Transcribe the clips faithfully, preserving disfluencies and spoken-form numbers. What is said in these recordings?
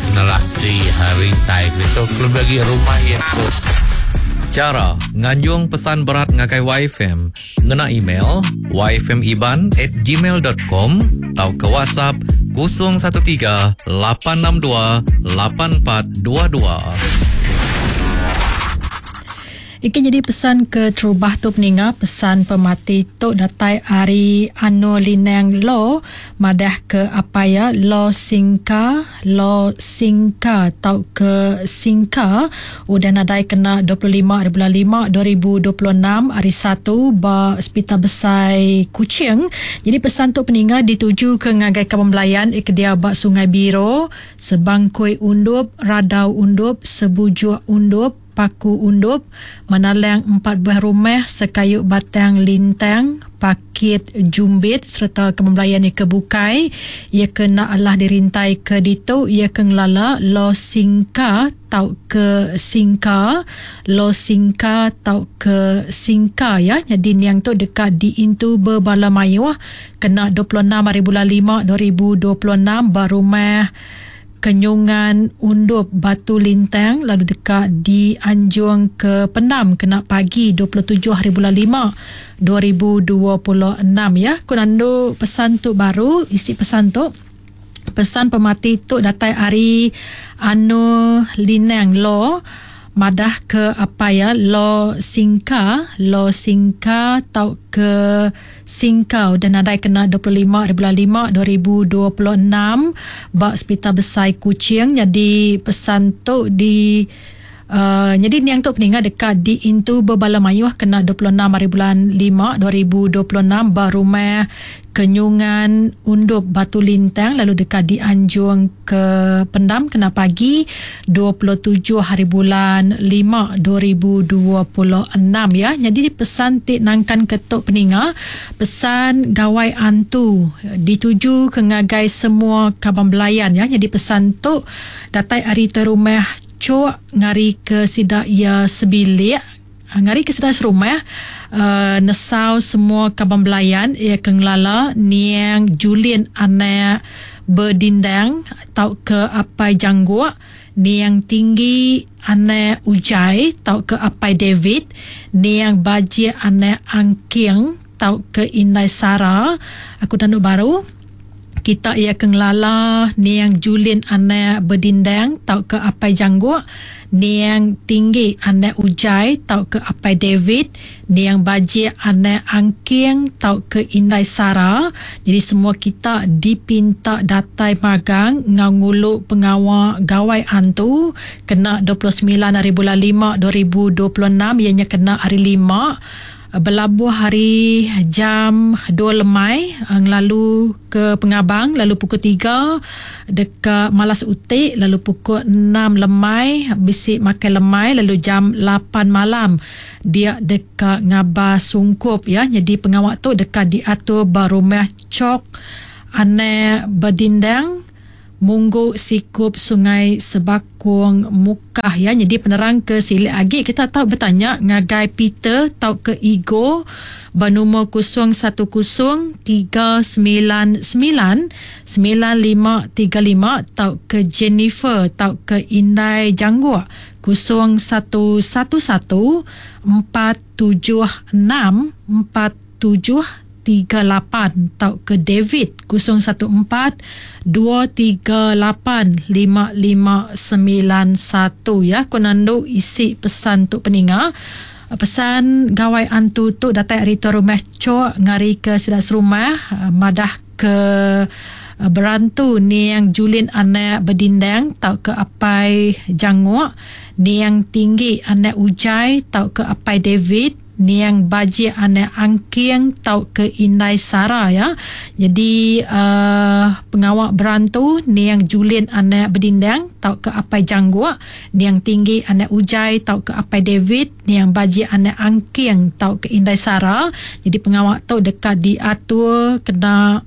kenalah di rintai itu lebih lagi rumah itu. Cara nganjung pesan berat ngagai Y F M ngena email y f m iban at gmail dot com atau ke WhatsApp kosong satu tiga lapan enam dua lapan empat dua dua. Iki jadi pesan ke terubah tu peninga, pesan pemati tu datai ari Anu Linang Lo madah ke apa ya Lo Singka Lo Singka tau ke Singka udah nadai kena dua puluh lima hari bulan lima dua ribu dua puluh enam hari satu ba Hospital Besai Kuching. Jadi pesan tu peninga dituju ke ngagai kaban belayan ik dia ba Sungai Biro, Sebangkui Undup, Radau Undup, Sebujuk Undup, Paku Undup, Menalang empat buah rumah, Sekayu Batang Lintang, Pakit Jumbit serta kebelayan ke bukai. Ia kena Allah dirintai ke ditu, ia ke ngelala Lo Singka tau ke Singka, Lo Singka tau ke Singka ya. Jadi niang tu dekat diintu berbala mayuh kena dua puluh enam hari bulan lima dua ribu dua puluh enam ba rumah Kenyungan Undup Batu Lintang, lalu dekat di Anjung ke Pendam kena pagi dua puluh tujuh hari bulan lima dua ribu dua puluh enam ya. Ku nandu pesan tu baru, isi pesan tu. Pesan pemati tu datai ari Anu Linang Lo madah ke apa ya Lo Singka Lo Singka tau ke Singka dan nadai kena dua puluh lima hari bulan lima dua ribu dua puluh enam ba Hospital Besai Kuching. Jadi pesan tu di Uh, jadi niang tu peninga dekat di Intu Bebala Mayuh kena dua puluh enam hari bulan lima dua ribu dua puluh enam ba rumah Kenyungan Undup Batu Lintang, lalu dekat di Anjung ke Pendam kena pagi dua puluh tujuh hari bulan lima dua ribu dua puluh enam ya. Jadi pesan ti nangkan ketuk peninga, pesan gawai antu dituju ke ngagai semua kaban belayan ya. Jadi pesan tu datai ari tu rumah Cok ngari ke sidak ia sebilik, ngari ke sidak serumah, uh, nesau semua kaban belayan ia ke ngelala niang Julian anak berdindang tau ke apai Jangguak, niang tinggi anak Ujai tau ke apai David, niang Bajik anak Angking tau ke Indai Sara. Aku tanduk baru kita ia ke ngelala niang Julian anak berdindang tau ke apai Jangguak, niang tinggi anak Ujai tau ke apai David, niang Bajik anak Angking tau ke Indai Sara. Jadi semua kita dipinta datai magang ngau ngulu pengawa gawai antu kena dua puluh sembilan hari bulan lima dua ribu dua puluh enam, ianya kena hari lima berlabuh hari jam dua lemai lalu ke Pengabang, lalu pukul tiga dekat Malas Utik, lalu pukul enam lemai bisik makan lemai, lalu jam lapan malam dia dekat Ngabas Sungkup ya. Jadi pengawak tu dekat diatur ba rumah Cok Ane Berdindang Munggu Sikup Sungai Sebakung Mukah ya. Jadi penerang ke silik agi kita tahu bertanya ngagai Peter tau ke Igo bernombor kosong satu kosong tiga sembilan sembilan sembilan lima tiga lima tau ke Jennifer tau ke Indai Jangguak kosong satu satu satu empat tujuh enam empat tujuh tiga lapan tau ke David kosong satu empat dua tiga lapan lima lima sembilan satu ya. Ku nandu isi pesan tu peninga. Pesan gawai antu tu datai ari tu rumah Cok ngari ke sidak serumah madah ke berantu niang Julian anak berdindang tau ke apai Janguk, niang tinggi anak Ujai tau ke apai David, niang Bajik anak Angking tau ke Indai Sara ya. Jadi uh, pengawak berantu niang Julian anak berdindang tau ke apai Jangguak, niang tinggi anak Ujai tau ke apai David, niang Bajik anak Angking tau ke Indai Sara. Jadi pengawak tu dekat diatur kena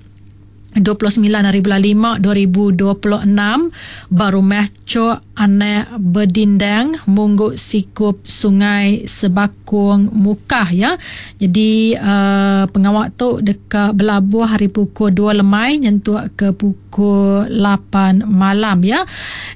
dua puluh sembilan hari bulan lima dua ribu dua puluh enam ba rumah Cok anak Bedindang Mungguk Sikup Sungai Sebakung Mukah ya. Jadi uh, pengawak tu dekat belabuh hari pukul dua lemai nyentuk ke pukul lapan malam ya.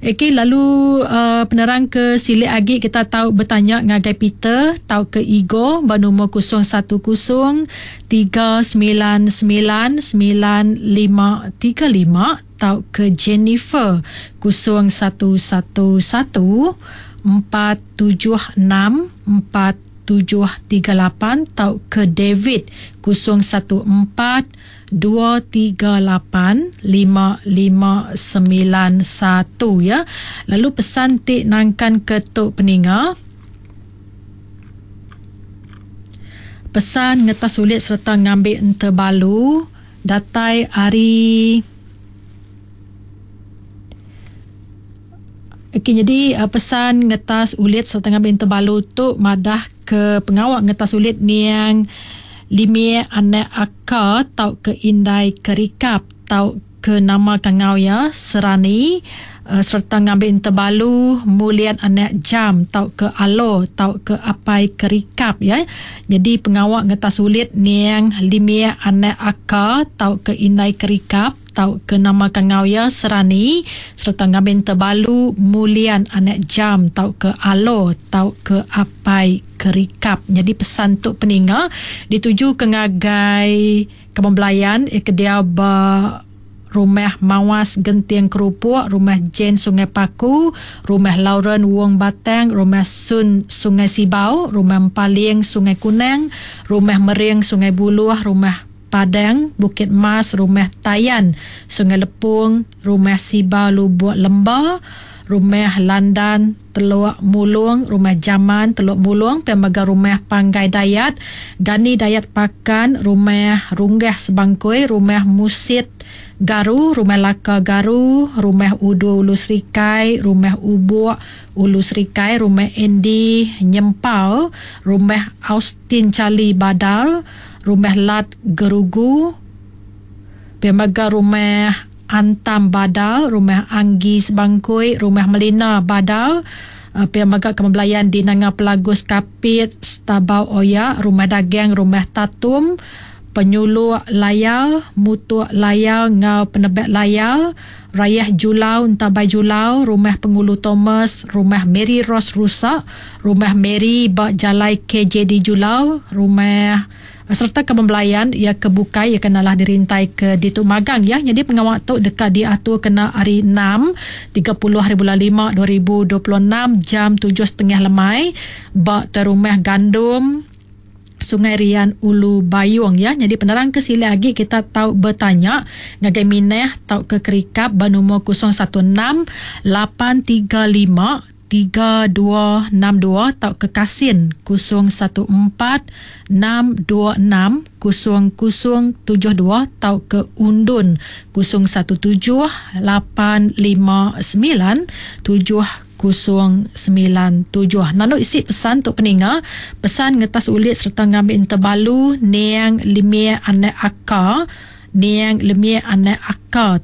Okey, lalu uh, penerang ke silik agi kita tahu bertanya ngagai Peter tau ke Igo bernombor kosong satu kosong tiga sembilan sembilan sembilan lima tiga lima tau ke Jennifer kosong satu satu satu empat tujuh enam empat tujuh tiga lapan tau ke David kosong satu empat dua tiga lapan lima lima sembilan satu ya. Lalu pesan ti nangkan ke tok peninga. Pesan ngetas sulit serta ngambil enterbalu datai hari. Okey, jadi pesan ngetas ulit serta ngambil terbalu tu madah ke pengawak ngetas ulit niang limie anak aka tau ke indai kerikap tau ke nama kangau ya Serani uh, serta ngambil terbalu mulian anak jam tau ke alo tau ke apai kerikap ya. Jadi pengawak ngetas ulit niang limie anak aka tau ke indai kerikap tau ke nama kangau ya Serani serta ngambil terbalu mulian anak jam tau ke alo tau ke apai kerikap. Jadi pesan tuk peninga dituju ke ngagai kebelayan eh, ke dia ba Rumah Mawas Genting Kerupuk, Rumah Jane Sungai Paku, Rumah Lauren Wong Batang, Rumah Sun Sungai Sibau, Rumah Empaling Sungai Kunang, Rumah Mering Sungai Buluh, Rumah Padang Bukit Mas, Rumah Tayan Sungai Lepung, Rumah Sibau Lubuk Lemba, Rumah Landan Teluk Mulung, Rumah Jaman Teluk Mulung, Pemaga Rumah Panggai Dayat, Gani Dayat Pakan, Rumah Runggah Sebangkui, Rumah Musit Garu, Rumah Laka Garu, Rumah Udu Ulu Serikai, Rumah Ubuk Ulu Serikai, Rumah Andy Nyempau, Rumah Austin Charlie Badal, Rumah Lat Gerugu, Pemaga Rumah Antam Badal, Rumah Anggi Sebangkui, Rumah Melina Badal, Pemaga Kemebelayan di Nanga Pelagus Kapit, Stabau Oya, Rumah Dagang, Rumah Tatum, Penyuluk Layar, Mutuk Layar ngau Penebek Layar, Rayah Julau Entabai Julau, Rumah Pengulu Thomas, Rumah Mary Rose Rusak, Rumah Mary Bak Jalai K J D Julau, Rumah serta kebelayan ia kebukai ia kenalah dirintai ke Ditu Magang ya. Jadi pengawak tu dekat diatur kena hari enam tiga puluh hari bulan lima dua ribu dua puluh enam jam tujuh setengah lemai bak terumah Gandum Sungai Rian Ulu Bayung ya. Jadi penerang ke sila lagi kita tahu bertanya ngagai Mineh tau ke Kerikap bernombor kosong satu enam lapan tiga lima tiga dua enam dua tau ke Kasin kosong satu empat enam dua enam kosong kosong tujuh dua tau ke Undun kosong satu tujuh lapan lima sembilan tujuh kosong sembilan tujuh. Nanu isi pesan untuk peninga, pesan ngetas ulit serta ngambil terbalu niang limie anak aka, niang lemie anak aka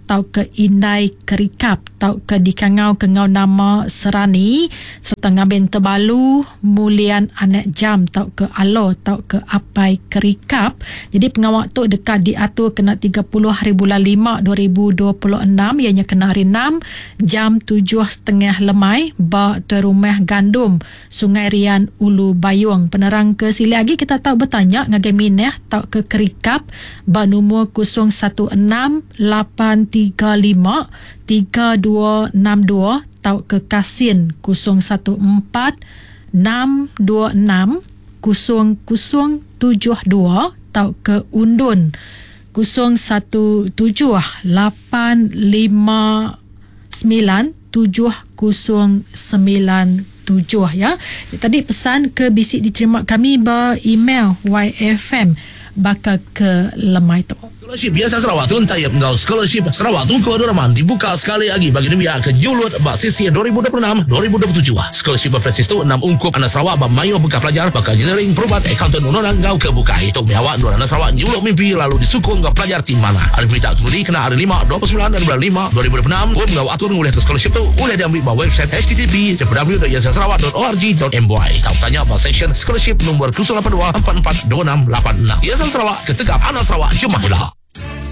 tau ke indai kerikap tau ke dikangau kengau nama Serani serta ngambil terbalu mulian anak jam tau ke alo tau ke apai kerikap. Jadi pengawak tu dekat diatur kena tiga puluh hari bulan lima dua ribu dua puluh enam ianya kena hari enam jam tujuh setengah lemai ba tuan rumah Gandum Sungai Rian Ulu Bayung. Penerang ke sila lagi kita tahu bertanya ngagai Mineh tau ke kerikap ba nombor kosong satu enam lapan tiga lima tiga dua enam dua tau ke Kasin kosong satu empat enam dua enam kosong kosong tujuh dua tau ke Undun kosong satu tujuh lapan lima sembilan tujuh kosong sembilan tujuh ya. Tadi pesan ke bisik diterima kami ber email Y F M bakal ke lemai tu. Scholarship Yayasan Sarawak Tun Taib enggau Scholarship Sarawak Tunku Abdul Rahman dibuka sekali lagi bagi nembiak ke nyulut ba sesi dua ribu dua puluh enam dua ribu dua puluh tujuh. Scholarship berpresis tu enam ungkup anak Sarawak ba mayuh bengkah pelajar baka engineering, perubat, accountant, undang-undang enggau ke bukai. Tu meh awak endur anak Sarawak nyuluk mimpi lalu disukung enggau pelajar ti manah. Hari peminta kemudi kena hari lima dua puluh semilan dari bulan lima dua ribu dua puluh enam. Pun enggau atur ngulih ke scholarship tu ulih diambil ba website H T T P W W dot yayasan sarawak dot org dot M Y. Tau tanya ba seksyen scholarship nombor kosong lapan dua empat empat dua enam lapan enam. Yayasan Sarawak ketegap anak Sarawak jemah ila.